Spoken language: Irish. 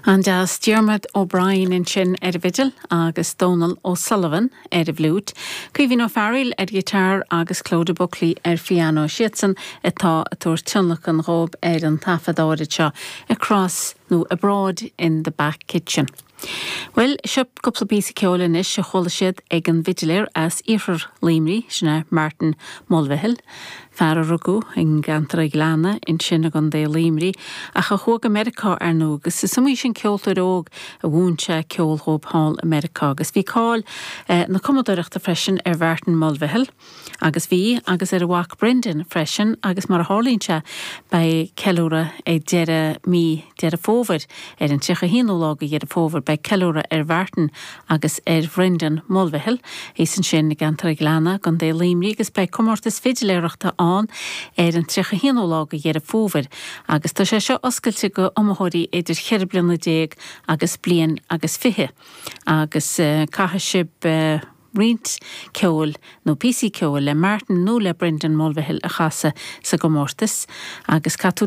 An-deas. Diarmuid O'Brien ansin ar an bhfidil agus Dónal O'Sullivan ar an bhfliúit, Caoimhín Ó Fearghaíl ar ghiotár agus Clodagh Buckley ar phianó. Siadsan atá ag tabhairt tionlacan dhóibh ar an taifead áirid seo, Across nó Abroad in the Back Kitchen. Bhuel, seo cúpla píosa ceoil anois a chuala siad ag an bhfidiléir as iarthar Luimnigh, sin é Martin Mulvihill, fear a rugadh i gceantar an Ghleanna ansin i gContae Luimnigh ach a chuaigh go Meiriceá ar ndóigh agus is iomaí sin ceoltóir óg a mhúin sé ceol dhóibh thall i Meiriceá agus bhí cáil na cumadóireachta freisin ar Mhartin Mulvihill. Agus bhí, agus ar a mhac Brendan freisin, agus mar a tharlaíonn sé, beidh ceiliúradh ag deireadh mí Deireadh Fómhair, ar an 31ú lá de Dheireadh Fómhair, beidh ceiliúradh ar Mhartin agus ar Bhrendan Mulvihill, thíos ansin i gceantar an Ghleanna, i gContae Luimnigh, agus beidh comórtas fidiléireachta ann ar an 31ú lá de Dheireadh Fómhair, agus tá sé seo oscailte go iomaitheoirí idir cheithre bliana déag agus bliain agus fiche, agus caithfidh sibh. roinnt ceoil nó píosaí ceoil le Martin nó le Brendan Mulvihill a chasadh sa gcomórtas agus caithfidh tú.